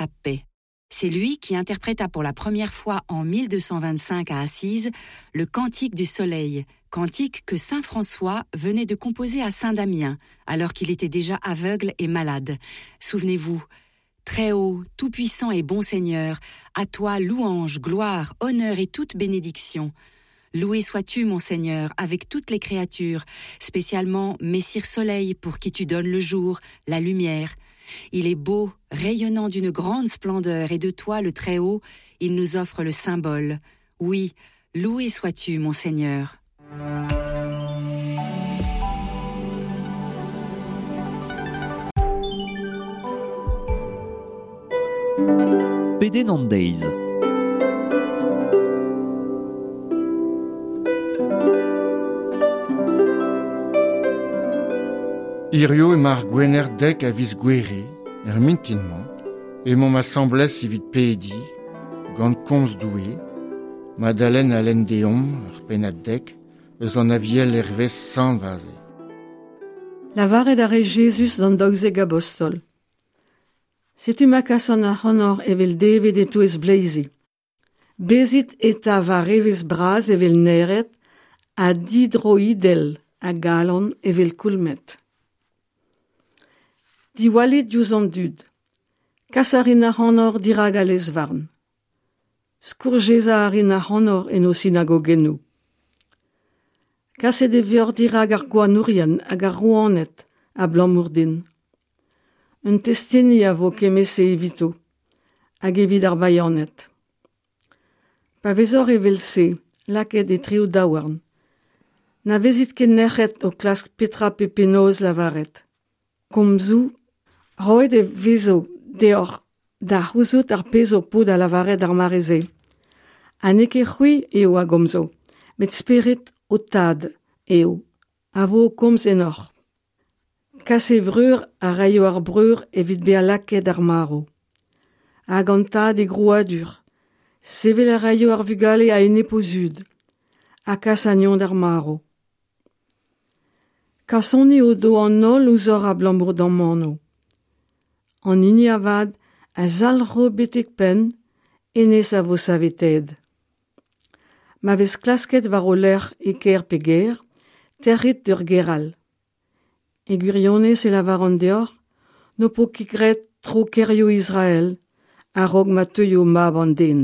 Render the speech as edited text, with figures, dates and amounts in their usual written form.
Pape. C'est lui qui interpréta pour la première fois en 1225 à Assise le Cantique du Soleil, cantique que saint François venait de composer à Saint-Damien, alors qu'il était déjà aveugle et malade. Souvenez-vous, Très haut, tout-puissant et bon Seigneur, à toi louange, gloire, honneur et toute bénédiction. Loué sois-tu, mon Seigneur, avec toutes les créatures, spécialement Messire Soleil pour qui tu donnes le jour, la lumière. Il est beau, rayonnant d'une grande splendeur, et de toi, le Très-Haut, il nous offre le symbole. Oui, loué sois-tu, mon Seigneur. Pedenn an deiz. Hirio emañ ar Gwener dek a viz Gouere, er mintin-mañ, emaomp asambles evit pediñ, gant komz Doue, Madalen a lenn deomp, ur pennad dek, eus an Aviel hervez Sant Vaze. Lavaret a rae Jezuz d'an daouzek abostol. Setu ma kasan ac'hanoc'h evel devet e-touez bleizi. Bezit eta war evezh bras evel naered ha didroidell a galon evel koulmed. Diwallit diouzh an dud. Kas a rin ac'hanoc'h dirak al lez-varn. Skourjezañ a rin ac'hanoc'h en o sinagogennoù. Kaset e vioc'h dirak ar gouarnourien hag ar rouaned abalamour din. Un testeni a vo kement-se evito hag evit ar baianed. Pa vezoc'h evel-se lakaet etre ho daouarn, na vezit ket nec'het o klask petra pe penaos lavaret. Komzoù, roet e vezo deoc'h da c'houzout ar pezh ho po da lavaret d'ar mare-se. Ha n'eo ket c'hwi eo a gomzo, met spered ho tad eo a vo o komz ennoc'h. Kas e vreur a raio ar breur evit bezañ lakaet d'ar marv. Hag an tad e grouadur. Sevel a raio ar vugale a-enep o zud ha kas anezhañ d'ar marv. Kasoni o do an holl ouzhoc'h abalamour d'am anv. An hini avat a zalc'ho betek penn, hennezh a vo saveteet. Ma vez klasket war ho lerc'h e kêr pe gêr, tec'hit d'ur gêr all. E gwirionez e lavaran deoc'h n'ho po ket graet tro kêrioù Israel a-raok ma teuio mab an den.